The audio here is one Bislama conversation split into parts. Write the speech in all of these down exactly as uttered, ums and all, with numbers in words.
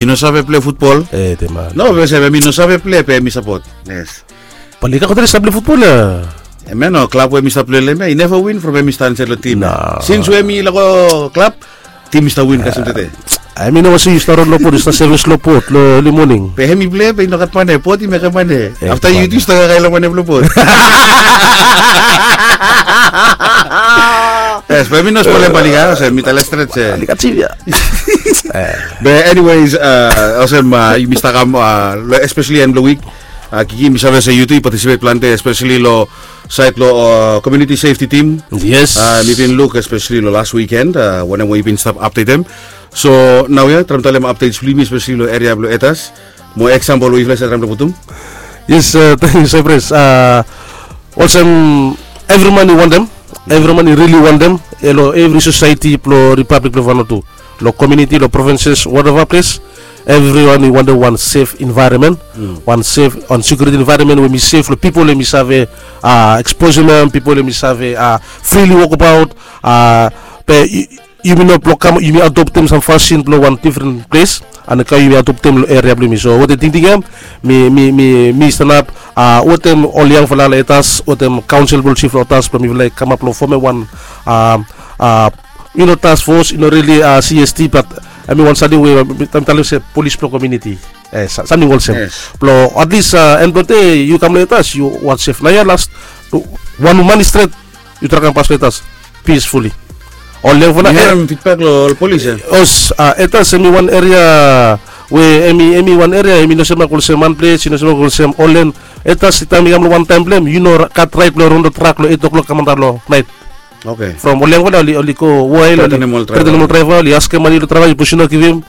I no save plei futbol. No, be se mi no save plei be mi sapot. Yes. Balika kotari save plei futbol ya. Em ya no klab we mi stap plei long em ya i neva win from em i stap insait long tim. Sins we mi lako klab, tim i stap win kasem tete. Em i no wase yu stap ron long pot, yu stap sevis long pot long eli moning. Be em i plei be i no gat mane, pot i mekem mane. Afta yu tu stap kakae long mane blong pot. Yes, be mi no spolem balika se mi tale stret se. Balika tim ya. Be anyways, olsem yumi stap kam long especially en blong wik, Kiki, mi save se yu tu yu patisipet plante especially long sait long community safety team. Yes. Mi bin luk especially long las wikend wanem we yu bin stap apdetem. So nau ya traem talem apdets blong yumi especially long eria blong Etas, mo eksampol we yufala save traem long putum. Yes, tangkiu Saipras. Olsem evri man i wantem, evri man i rili wantem, long evri sosaeti blong Ripablik blong Vanuatu, long komuniti, long provinses, whatever ples, evriwan i wantem wan sef envaeronmen, wan sef, wan sekuriti envaeronmen we mi sef long pipol hem i save eksposem hem, pipol hem i save frili wokbaot. Be yumi no blong kam yumi adoptem sam fasin blong wan difren ples, and kam yumi adoptem long eria blong yumi. So wetem tingting ya mi mi mi mi stanap wetem ol yangfala long Etas, wetem kaonsel blong sif long Etas blong mifala i kamap long fomem wan, yu no, task force, yu no, rili CST, bat em i wan samting we mi talem se polis blong komuniti, samting olsem. Blong atlis en blong dei yu kam long Etas yu wan sef. Naoia las wan man i stret yu traem kam pas long Etas peacefully. Ol yangfala, mi harem fidbak long ol polis ya. Os, Etas em i wan eria we em i em i wan eria em i no semak olsem wan ples, i no semak olsem Olen. Etas taem i kam long wantaem blong em yu no gat raet blong ron long trak long eit oklok kam antap long naet. From ol yangfala oli oli go wael, oli tretenem ol draeva, oli askem mane long draeva, sipos yu no givim,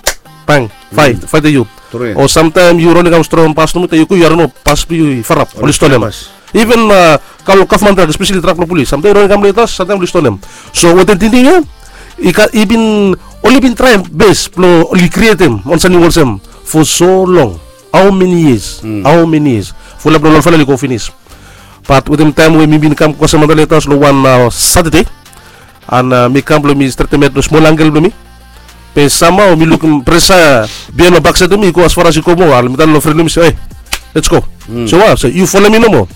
bang, faet, faetem yu. O samtaem yu ron i kam strong pas nomo, taem yu go yu harim nao pas blong yu i farap, oli stonem. Iven kam long gavman trak, espeseli trak blong polis, samtaem yu ron i kam long Etas, samtaem oli stonem. So wetem tingting ya i bin, oli bin traem bes blong oli krietem wan samting olsem for so long. Hao meni yias, hao meni yias, fulap long ol fala oli go finis. Bat wetem taem we mi bin kam go kasem antap long Etas long wan Satade, and mi kam blong mi stretem hed long smol ankel blong mi. Be samhao mi lukim presa bihaen long baksaed blong mi i go asfaras i go moa, and mi talem long fren blong mi se, "Ei, lets go." So wa se, "Yu folem mi nomo."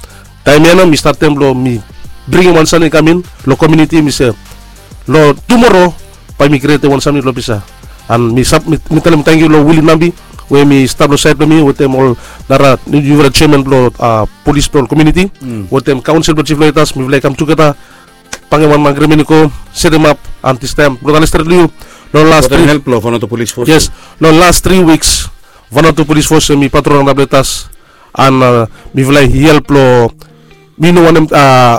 Taem ya nao mi statem blong mi bringim wan samting i kam in long komuniti, mi se, "Long tumoro bae mi krietem wan samting long Bisa." And mi talem tangkiu long Willy Nambi we mi stap long saed blong mi wetem ol nara niufala jeaman blong polis blong ol komuniti wetem kaonsel blong jif long Etas, mifala i kam tugeta, bangim wan agrimen i go, setemap, and distaem blong tale stret long yu, long las tri, help long Vanuatu Polis Fos, yes, long las tri wiks Vanuatu Polis Fos em i patrol antap long Etas, and mifala i help long, mi no wanem,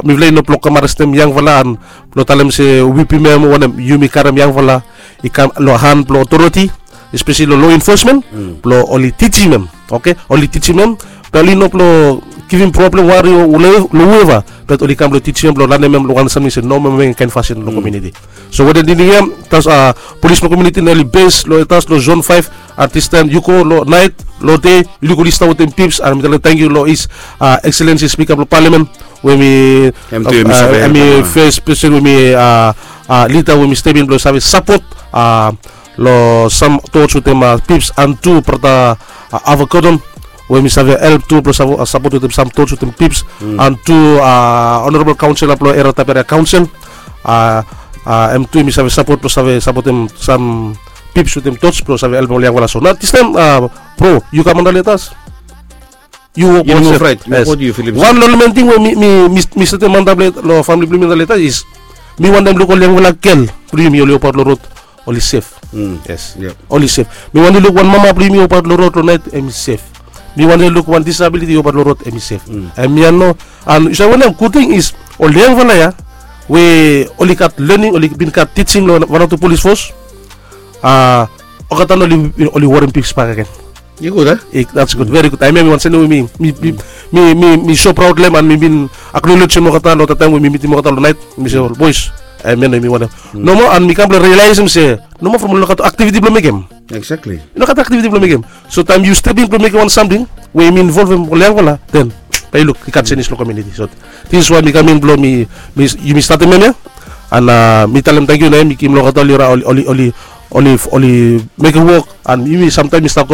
mifala i no blong kam arestem yangfala and blong talem se wipim hem o wanem, yumi karem yangfala i kam long han blong otoriti, espeseli long lo enfosmen, blong oli tijim hem. Oke, oli tijim hem, be oli no blong givim problem, wari long hueva, be oli kam blong tijim hem, blong lanem hem long wan samting se no moa mekem kaen fasin long komuniti. So wetem tingting ya, polis blong komuniti nao oli bes long Etas long zon faef, and distaem yu go long naet, long dei yu luk oli stap wetem pips, and mi talem tangkiu long His Excellency Spika blong Palamen we mi, hem i fes pesen we mi lida we mi step in blong save sapot long sam tots wetem pips, and tu brata Ava Gordon we mi save help tu blong sapot wetem sam tots wetem pips, and tu honorabol kaonsela blong Eria Taberia Kaonsel, hem tu mi save sapot blong save sapotem sam pips wetem tots blong save helpem ol yangfala. So nao distaem, bro, yu kam antap long Etas, yu wok wan sef. Wan long ol men ting we mi mi mi setem antap long famili blong mi antap long Etas is mi wantem luk ol yangfala gel blong yumi oli wokbaot long rod, oli sef. Yes, oli sef. Mi wantem luk wan mama blong yumi i wokbaot long rod long naet, hem i sef. Mi wantem luk wan disabiliti i wokbaot long rod, hem i sef. Hem ya nao, and yu save wanem, gud ting is ol yangfala ya we oli gat lening, oli bin gat tijing long Vanuatu Polis Fos, olgeta nao oli warem pips bak agen. I gud, a? That's good, very good. Hemia mi wan samting we mi mi mi mi so praod long hem, and mi bin aknolejem olgeta long olgeta taem we mi mitim olgeta long naet. Mi se, ol boes, hemia nao mi wantem. Nomo, and mi kam blong rialaesem se nomo from oli no gat aktiviti blong mekem. Exactly. I no gat aktiviti blong mekem. So taem yu step in blong mekem wan samting we i involvem ol yangfala, then bae yu luk i gat jenis long komuniti. So this is why mi kam in blong mi, yumi statem hemia, and mi talem tangkiu nao mi givim long olgeta oli oli oli oli mekem wok, and yumi samtaem i stap